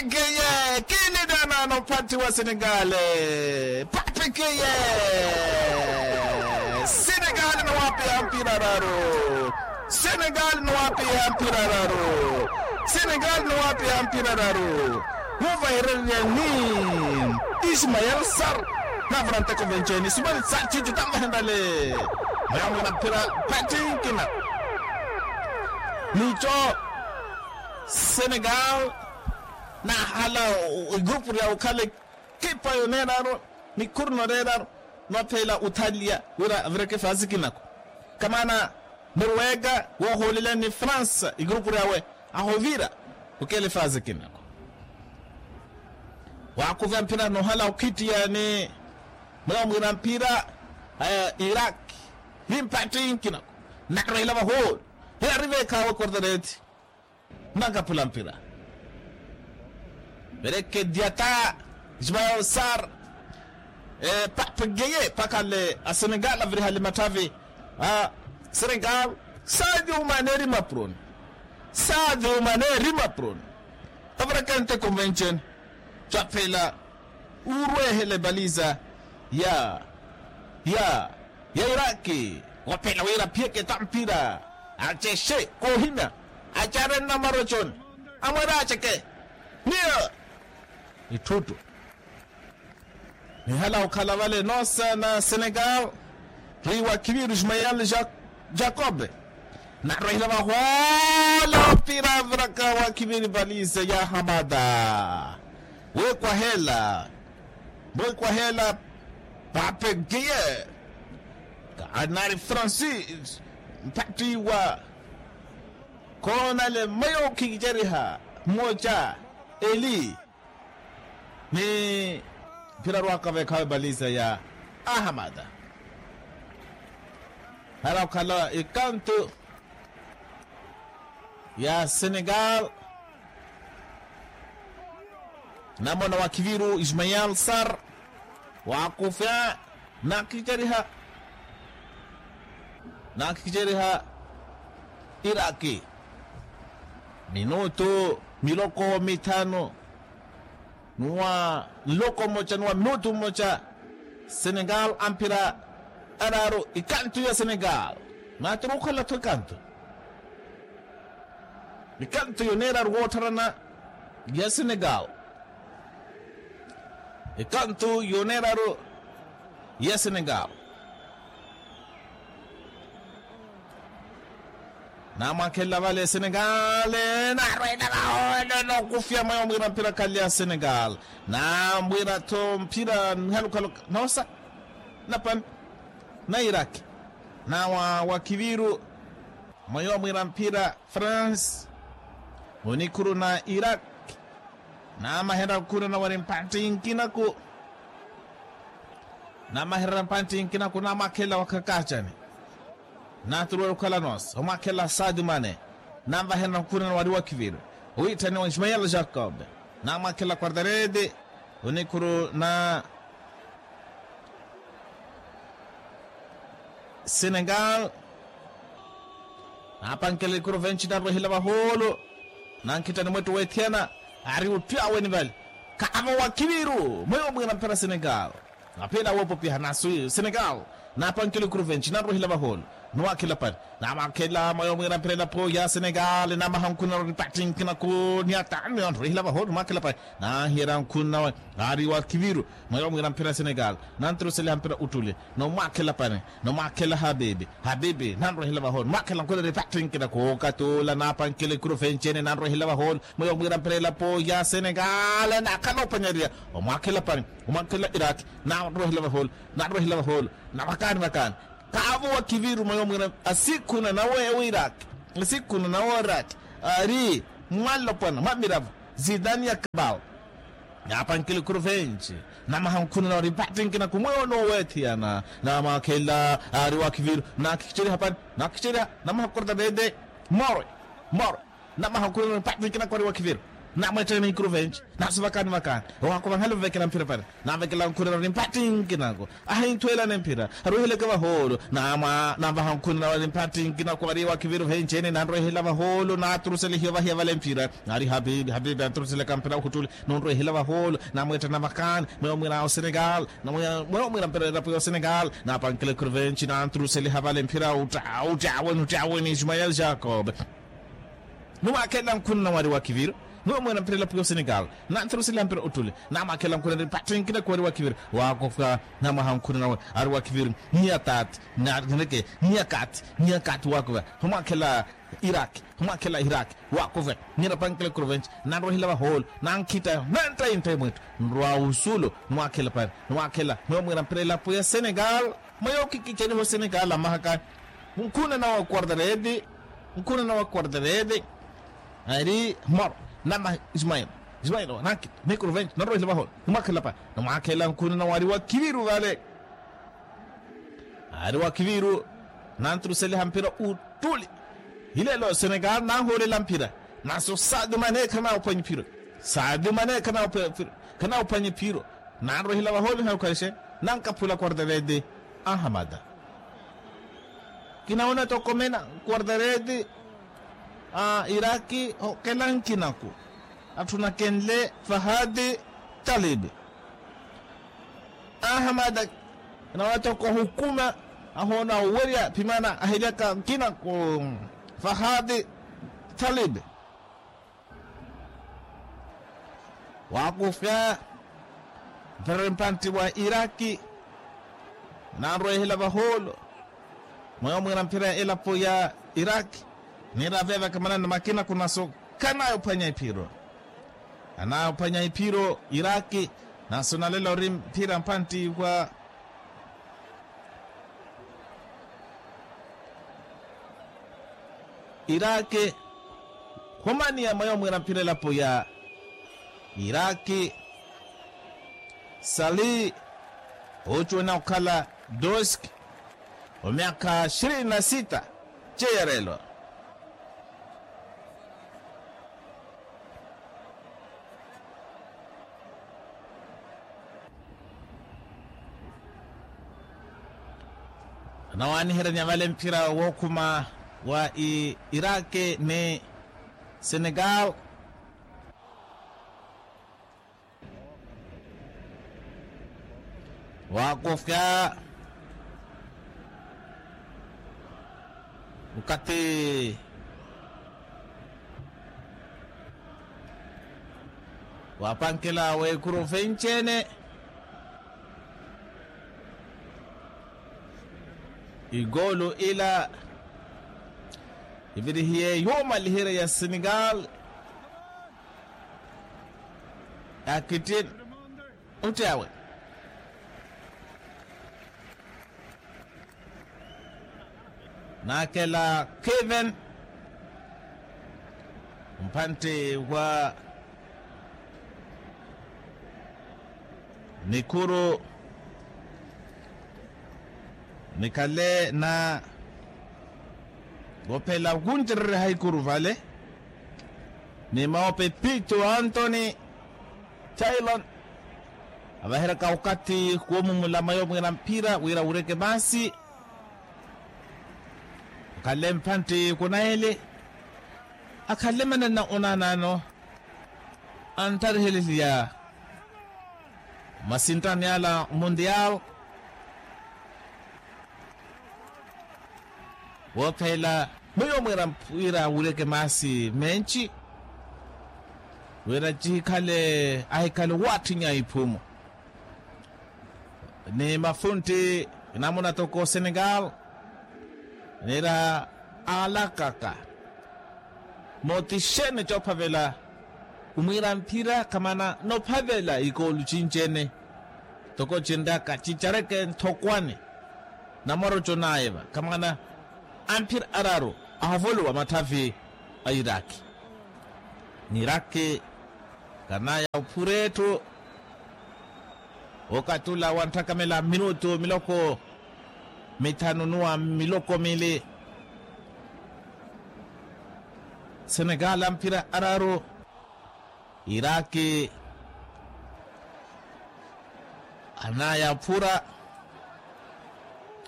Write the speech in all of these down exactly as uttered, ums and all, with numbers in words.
Keye kiinitanaano mpatthi wa senegale. Papi keye. Senegale ni waapiha mpira raru. Senegale ni waapiha mpira raru. Senegale ni waapiha mpira raru. Wuuvahererya ni ismael sar. Naavura nteko venceeni ismael sar ciicu tanvahenrale. Mweya mwina mpira mpatthi nkina. Nico senegal naahala egrupu ryawe okhala ekipa yoneeraru. Nikhuru noreeraru nwaphela othaliya wira avireke faasi kinako. Kamaana norwega woohoolelani ni fransa egrupu ryawe ahovira okela efaasi kinako. Waakuvya mpira noohala okhittiya ni mweya omwiira mpira iraki ni mpatthi nkinako. Narwehela vahoolo. Hiyari veekhawe kortereti. Nakaphula mpira verekedyata. Ismael sar. Pape geye pakale a senegal avirihale matthavi a senegal. Sadio mane eri maproni. Sadio mane eri maproni. Avireke nteko mvenceni. Caphela urwehele baliza ya ya ya iraki. Waphela wira aphiyeke ta mpira acexe koohimya. Acare nnamaroconi amwere aceke niyo. Itthuttu nihala okhala vale noosa na senegal. Ri wa kiviru ismael jacobe narwehela vahoola mpira aviraka wa kiviri valise ya hamada. Wekwahela wekwahela pape giye. Kaanari francis mpattiwa. Koonale mweyo khikiceriha mmoca eli ni mpira rwaka veekhawe baliza ya ahamada. Hara okhala ekantu ya senegal. Namona wa kiviru ismael sar waakufya naakiceriha naakiceriha iraki minutu miloko mithanu. Nuwa nloko mmoca nuwa minutu mmoca senegal amphira araaru ikantu ya senegal. Naatiri okhala-tho ikantu ikantu yoneeraru woottharana ya senegal. Ikantu yoneeraru ya senegal. Naamwakhelela vale senegal naarwela vahoolo nookufya mweyo mwira mpira khale ya senegal. Naamwira-tho mpira nihalukaluka noosa napani na iraki. Nawa wa kiviru mweyo mwira mpira france onikhuru na iraki. Naamaherya nkhuna nawari mpatthi nkinaku. Naamaherya mpatthi nkinaku naamwakhelela wakhakacani. Naaturuwela okhala noosa omwakhelela sadio mane. Naamvaherya nkhuna nawari wa kiviru owiitthaniwa ismael jacobe. Naamwakhelela quarterete onikhuru na senegal. Naapankela ikuru venci narwehela vahoolo. Nankhitthani mwettu weethiyana ari otthu aweni vale. Kaavo wa kiviru mweyo mwira mpira senegal. Aphela woopopiha naasuwi senegal. Naapankela ikuru venci narwehela vahoolo. Niwaakhela pani naamwaakhela mweyo mwira mpira elapo ya senegal naamaha nkhuna narwari patti nkinaku. Ni atamiyo narwehela vahoolo niwaakhela pani. Naahiyerya nkhuna nawe ari wa kiviru mweyo mwira mpira senegal. Nantiruseliha mpira uttule nomwaakhela pani. Nomwaakhela habibi habibi nanrwehela vahoolo nimwaakhela nkhuna ripatti nkinaku okatula naapankela ikuru venci ene nanrwehela vahoolo. Mweyo mwira mpira elapo ya senegal naakhala opanyariya omwaakhela pani. Omwaakhela iraki nanrwehela vahoolo. Nanrwehela vahoolo navakaani vakaani. Kaavo wa kiviru mweyo mwira asikhuna nawe ewiraki asikhuna nawe oraki ari mwanlopwana mwa miravo zidani ya kabao. Naapankela ikuru venci namaha nkhuna nawari patti nkinaku mweyo nooweethiyana. Namwaakhela ari wa kiviru naakhikicerya hapani naakhikicerya namaha korotapete. Morwe morwe namaha nkhuna nawari patti nkinaku ari wa kiviru. Namwetteene ikuruvenci, nasu vakaani vakaani. Owakuva nhale ovekela mphira pari. Navekela nkhunina wari mpattinkinaku, ahinthwelane mphira, aruhileke vahoolo. Namwa navaha nkhunina wari mpattinkinaku wari wakiviru venci-ene nanrwehela vahoolo naturusele hiyo vahiya vale mphira. Ari habibi habibi anturuseleka mphira uhuttuli, nunrwehela vahoolo. Namwetteene vakaani, mweyo mwira osenegal. Mweyo mwira mphira elapo ya osenegal. Napankela ikuruvenci nanturusele havale mphira. Uttaaweni uttaaweni ismael jacob. Numwakhelela nkhunina wari wa kiviru. Numwemwena mphira elapo ya osenegal. Nanthirusiliha mphira ottuli. Namwakhelela nkhunina eri pattinkinaku wari wa kiviru. Waakofwa. Namwaha nkhunina wari wa kiviru. Niyatati. Niyakati. Niyakati waakofwa. Humwakhelela iraki. Humwakhelela iraki. Waakofwa. Nirapankela ikuruvenci. Nanrwehela vahoolo. Nankhitta. Nanttayi ntthai mwettu. Nrwa usulu. Numwakhelela pari. Numwakhelela mweyo mwira mphira elapo ya senegal. Mweyo kikiceliho senegal amahaka. Nkhunina wa quartareti. Nkhunina wa quartareti. Ari moro. Namaha ismael. Ismael wa nankita nikuru venci nanrohile vahola. Nimwakhelela pa nimwakhelela nkhunina wari wa kiviru vale. Ari wa kiviru. Nanturuseliha mphira uttuli. Hilelo senegal nanhoolela mphira. Naso sadio mane khanaphwanya iphiro. Sadio mane khanaphwanya iphiro. Nanrohile vahola nihakhwalixe. Nankaphula quartareti. Ahamada. Kinaona tokomena quartareti. A iraki okela nkinaku. Atthu nakenle fahadi. Talibi. Ahamada. Kinaona toko hukuma. Ahoona owerya phimana ahilyaka nkinaku. Fahadi. Talibi. Waakufya. Mperere mpantti wa iraki. Nanrwehela vahoolo. Mweyo mwira mphira ya elapo ya iraki. Niira vevaka manani makina kunaso. Khanaya ophwanya iphiro. Khanaya ophwanya iphiro iraki. Naso nalela ori mphira mpantti wa iraki. Khumaniya mweyo mwira mphira elapo ya iraki. Sali. Ocuwena okhala. Doski. Omyakha ishirini na sita. Ceyerelo. Anawaaniheryanya vale mphira wookhuma wa iraki ni senegal. Waakofya. Okathi waapankela weekuru venci-ene. Ikoolu ila ivirihiye yoomaliherya ya senegal. Akittin. Otti awe. Nakhela kevin. Mpantti wa nikuru. Nikhale na wophela okuncererya haikuru vale. Ni mawo pepito antoni. Tailon. Avaheraka okathi kuwomumula mayo mwira mphira wira wureke maasi. Akhale mpantti kunayele. Akhale manana onanano. Anttariheleliya masintani ala mundial. Woophela mwiyo mwira mpwira wuleke maasi menci. Wira cihikhale ahikhale waattinya iphumu. Ni mafuntti namuna toko senegal. Nira alakaka. Mooti xeeni coophavela omwiira mphira khamana noophavela ikoolu cinci-ene. Toko cinraka cicareke nthokwani. Namoroco nayeva khamana amphira araru ahovolowa matthavi a iraki. Ni iraki kanaya ophura etthu. Okathi ula wanttakhamela minutu miloko mithanu nuwa miloko mili. Senegal amphira araru. Iraki anaayaphura,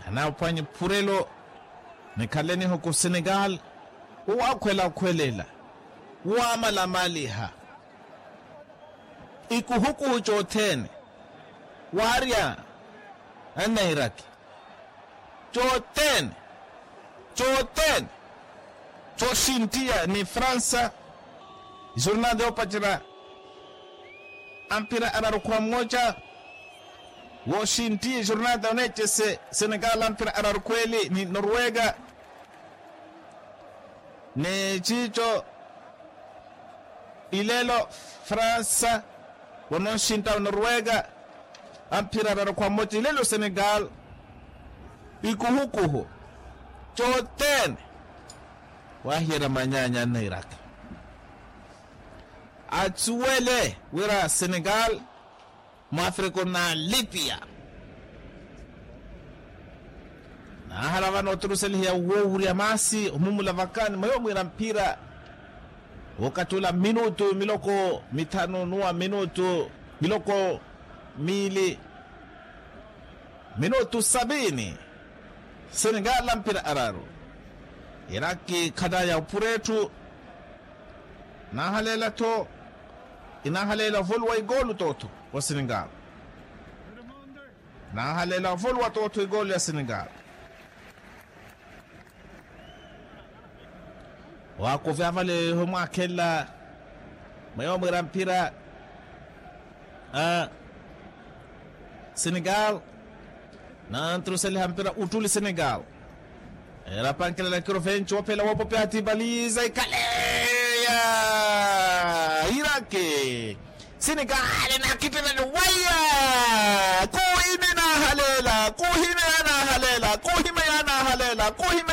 anaaphwanya ephurelo nikhaleniho ku senegal. Woowakhwelakhwelela, woomalamaliha, ikuhukuhu cothene, waarya annairaki, cothene, cothene, cooxinttiya ni fransa. Jornada yoopacerya ampira araru khwa mmoca, wooxinttiye jornada oneecese senegal ampira araru khweeli ni norwega. Ni ciico ilelo fransa, wononxintta onorwega ampira araru khwa mmoca ilelo senegal. Ikuhukuhu cothene, waahiyerya manyaanya anna iraki, atsuwele wira senegal, mwafrika onaalipya. Naahala vano oturuseliheya woowurya maasi omumula vakani mweyo mwiira mpira, wookathi ula minutu miloko mithanu nuwa minutu miloko miili, minutu sabini. Senegal ampira araru, iraki khanaya ophura etthu. Nahaleela-tho, inahaleela ovoluwa ikoolu tootho wa senegal. Nahaleela ovoluwa tootho ikoolu ya senegal. Waakuvi avale ohimwaakhelela mweyo mwiira mphira. Senegal nanturuseliha mpira uttuli senegal. Erapankelela kirovenci woophela woopopeya ati baliza ikhaleya. Iraki senegal nakittelani waya. Kuhime nahaleela kuhime ya nahaleela kuhime ya nahaleela kuhime.